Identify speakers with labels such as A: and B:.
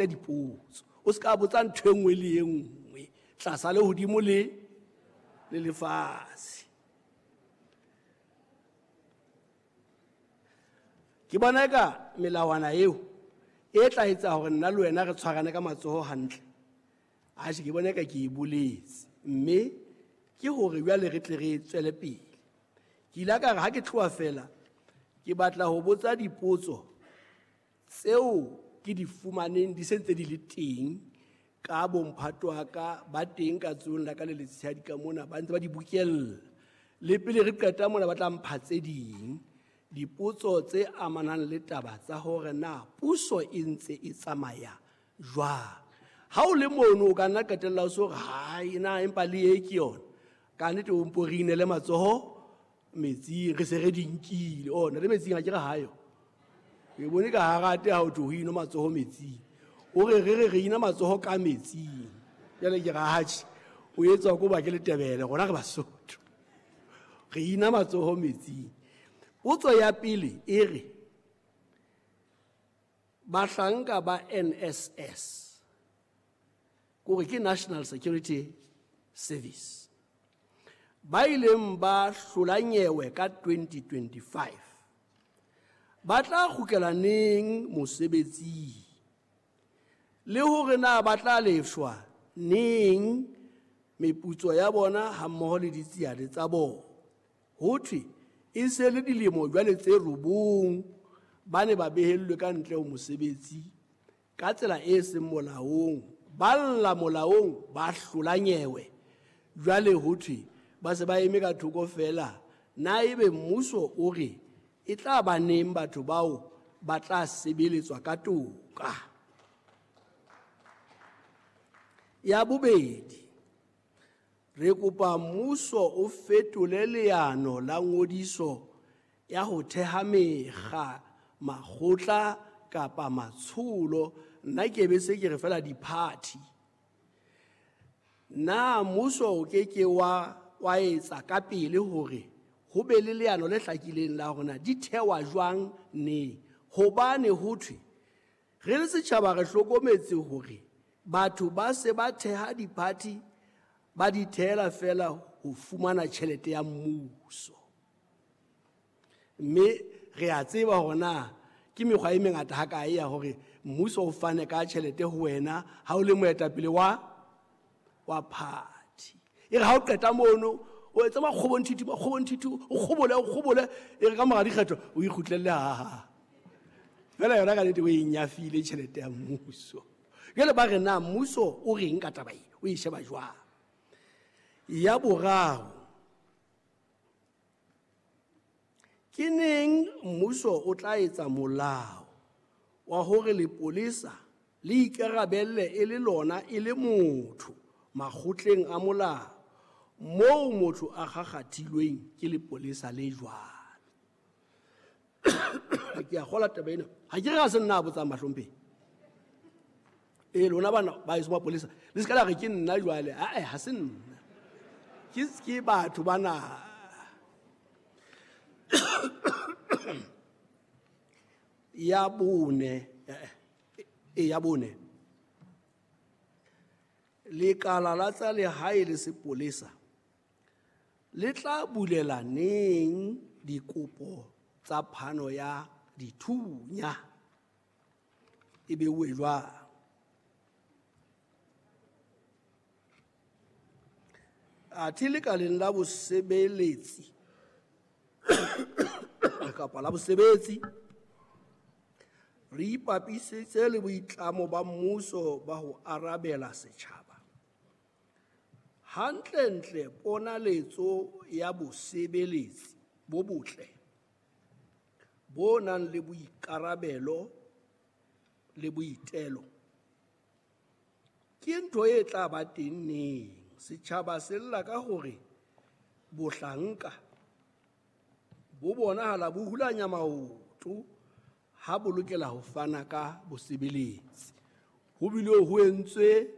A: Dipotso o se ka botsa ntho e nngwe le e nngwe tlasa le hodimo le le lefatshe. Ke bona eka melawana eo e tla etsa hore nna le wena re tshwarane ka matsoho hantle. Atjhe, ke bona eka ke e boletse, mme ke hore jwale re tle re tswele pele. Ke ile ka re ha ke tloha fela ke batla ho botsa dipotso tseo ke di fumaneng di se ntse di le teng ka bomphato wa ka ba teng ka tsohong la ka le letshehadi ka mona, ba ntse ba di bokella. Le pele re qeta mona ba tla mpha tse ding dipotso tse amanang le taba tsa hore na puso e ntse e tsamaya jwang. Ha o le mono o ka nna qetella o so hore hai na empa le e ke yona. Ka nnete o mpo re inele matsoho metsing, re se re di nkile. Ona le metsing ha ke re hayo. Ke bone ka harate ha o tlo ho ino matsoho metsing. O re re re re ina matsoho ka metsing. Jwale ke ra hatjhe, o etswa ko ba ke Letebele, rona re Basotho. Re ina matsoho metsing. Potso ya pele e re bahlanka ba NSS, kore ke National Security Service, ba ileng ba hlola nyewe ka 2025 ba tla kgutlela neng mosebetsing, le hore na ba tla lefshwa neng meputso ya bona hammoho le ditsiane tsa bona. Ho thwe e se le dilemo jwale tse 9 ba ne ba behellwe ka ntle ho mosebetsi ka tsela e seng molaong, ba lla molaong, ba hlola nyewe. Jwale ho thwe ba se ba eme ka thoko fela. Na ebe mmuso o re e tla ba neng batho bao ba tla sebeletswa ka toka? Ya bobedi, re kopa mmuso o fetole leano la ngodiso ya ho theha mekga, makgotla kapa matsholo. Nna ke be se ke re fela di-party. Na mmuso o ke ke wa etsa ka pele hore ho be le leano le hlakileng la hore na di thewa jwang neng? Hobane ho thwe re le setjhaba re hlokometse hore batho ba se ba theha di-party, ba di theela fela ho fumana tjhelete ya mmuso. Mme re a tseba hore na ke mekgwa e mengata hakae ya hore mmuso o fane ka tjhelete ho wena ha o le moetapele wa party. E re ha o qeta mono o etse makgobonthithi, makgobonthithi, o kgobole, o kgobole, e re ka mora dikgetho o ikgutlelle ha ha. Fela yona ka nnete o e nyafile tjhelete ya mmuso. Jwale ba re na mmuso o reng ka taba e, o e sheba jwang? Ya boraro, ke neng mmuso o tla etsa molao wa hore lepolesa le ikarabelle e le lona e le motho makgotleng a molao moo motho a kgakgathilweng ke lepolesa le jwalo? Ke a kgola taba ena. Ha ke re ha se nna a botsang bahlomphehi. E lona bana ba eso mapolesa, le se ka la re ke nna jwale. Ae, ha se nna. Ke batho bana. Ya bone, ya bone. Lekala la tsa lehae le sepolesa le tla bulela neng dikopo tsa phano ya dithunya? E beuwe jwang? Athe lekaleng la bosebeletsi kapa la bosebetsi re ipapisitse le boitlamo ba mmuso ba ho arabela setjhaba. Hantlentle ponaletso ya bosebeletsi bo botle bo nang le boikarabelo le boitelo ke ntho e tla ba teng neng? Setjhaba se lla ka hore bohlanka bo bonahala bo hulanya maoto ha bo lokela ho fana ka bosebeletsi. Ho bile ho entswe